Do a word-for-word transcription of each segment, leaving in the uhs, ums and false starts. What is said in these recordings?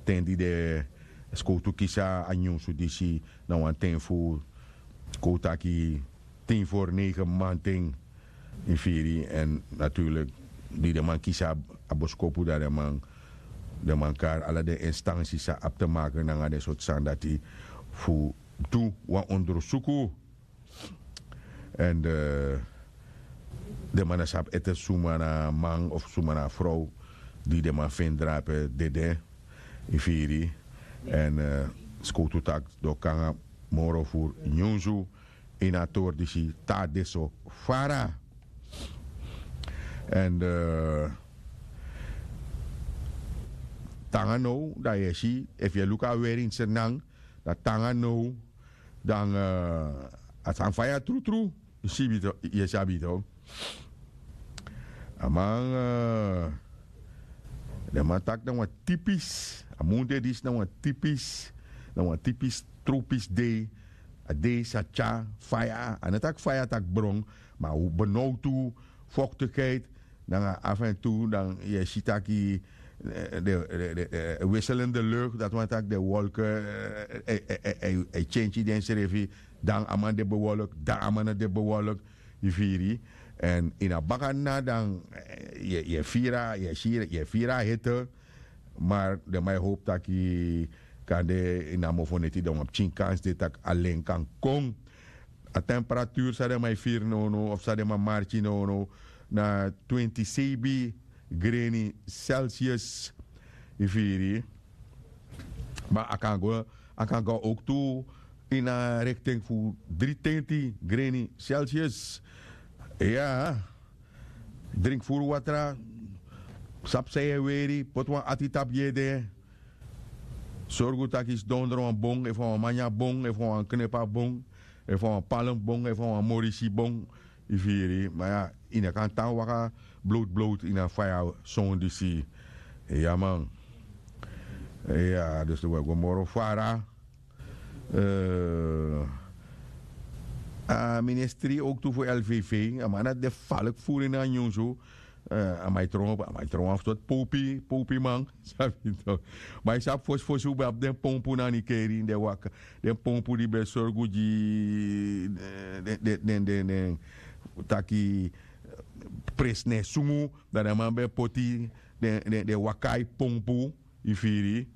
ten di den skowtu kisi a nyunsu disi na wan ten fu kon un taki tin for negen manten. Yu firi? Èn naturlik di den man kisi a boskopu dan den man kari ala den instansi san abi te maken nanga den sortu sani dati fu du wan ondersuku. Èn den man na sabi ete suma na a man of suma na a frow di den man feni drape dede. Yu firi? Èn skowtu taki den o kon nanga moro furu nyunsu ini a tori disi te a de so fara. Èn te nanga now dan yu e si efu yu e luku a weri ini srnan dan te nanga now dan a sani faya trutru. Yu si bito yu e sabi to a man den man taki na wan tipis a mun de disi na wan tipis na wan tipis tropis dei. A dei sa tyari faya a no taki faya taki bron ma a benowtu foktikheid nanga afu èn tu dan yu e si taki den wisselende lukt dati wani taki den wolke e tyentyi densrefi. Dan a man de bewolk dan a man no de bewolk. Yu firi? Èn ini a baka na dan yu e firi a yu e firi a hete. Mar den man e howpu taki kande ini a mofoneti dan wan pikin kans de tak' alen kan kon. A temperaturu san den man e firi nownow of san den man marki nownow na twenti seibi greni celsius. Yu firi? Ma a kan go a kan go owktu ini a rekten fu dri tenti greni celsius. Iya. Drinki furu watra. Sabi san yu e weri poti wan ati tapu gi ede. Sorgu tak' yu sidon dron wan bon efu a wan manya bon efu a wan knepa bon efu a wan palm bon efu a wan morisi bon. Yu firi ma ya yu no kan tan waka blowtu blowtu ini a faya. Son disi ya man. Ya dus wi e go moro fara. A ministri owktu fu lvv a man dati de faliki furu ini a nyunsu. A man e tron a man e tron wan fu soti powpi powpiman. Sabi yu tok? Ma yu sabi fosi fosi un ben abi den pompu na nikeri den waka den pompu di ben e sorgu gi den den den den taki presi na e sungu. Dan den man ben e poti den den waka a yu pompu. Yu firi?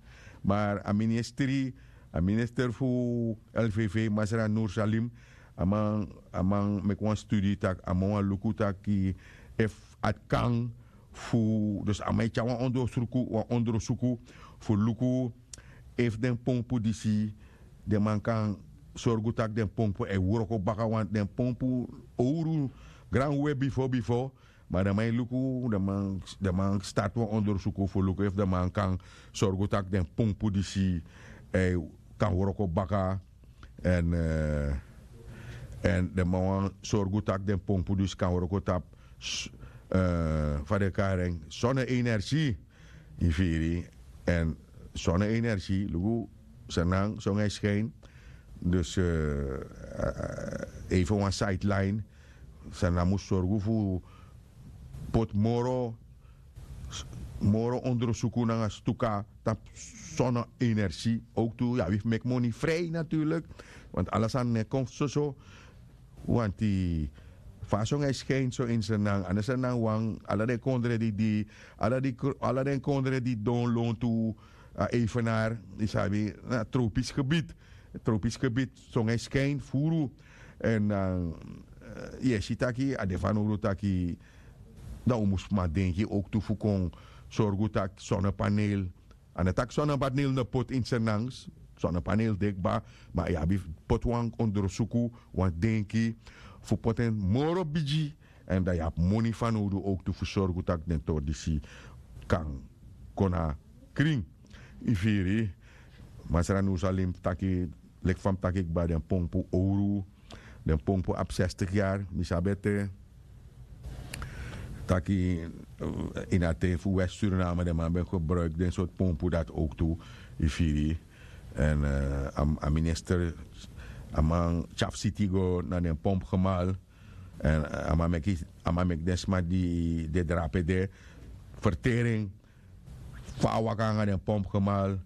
Mar a ministri a minister fu lvv masra nursalim a man a man meki wan studi tak' a man wani luku taki efu a kan fu dus a man e tyari wan ondrosuku wan ondrosuku fu luku efu den pompu disi den man kan sorgu tak' den pompu e wroko baka wantu den pompu owru granwe bifo bifo. Ma den man e luku den man start wan ondersuku fu luku efu den man kan sorgu tak' den pompu disi kan wroko baka. Èn den man wani sorgu tak' den pompu disi kan wroko tapu fa den kari en sonne energi. Yu firi? Èn sonne energi luku san nan songe skin dus even wan sideline. San nan mus sorgu fu poti moro moro ondersuku nanga stuka tapu sonne energi. Owktu yu abi fu meki moni frij naturlik. Want ala sani no e kon soso. Wanti fa a songu e skin so ini srnan a no srnan wan ala den kondre di di ala den kondre di don lontu a evenar yu sabi na tropisk gebied. Tropisk gebied songu e skin furu. Èn dan yu e si taki a de fanowdu taki dan un mus man denki owktu fu kon sorgu taki sonnepaneel. A no taki sonnepaneel no poti ini srnan sonnepaneel de kba. Ma yu abi poti wan ondersuku wan denki fu poti en moro bigi. Èn dan yu abi moni fanowdu owktu fu sorgu tak' den tori disi kan kon na krin. Yu firi? Masra nursalim taki leki fa mi taki kba den pompu owru. Den pompu abi sestig yari mi sabi ete taki ini a ten fu west suriname den man ben gebruiki den sortu pompu dati owktu. Yu firi? Èn a minister a man tyafsiti go na den pompu gemal. Èn a man meki den sma di de drape de fertering fa a waka nanga den pompu gemal.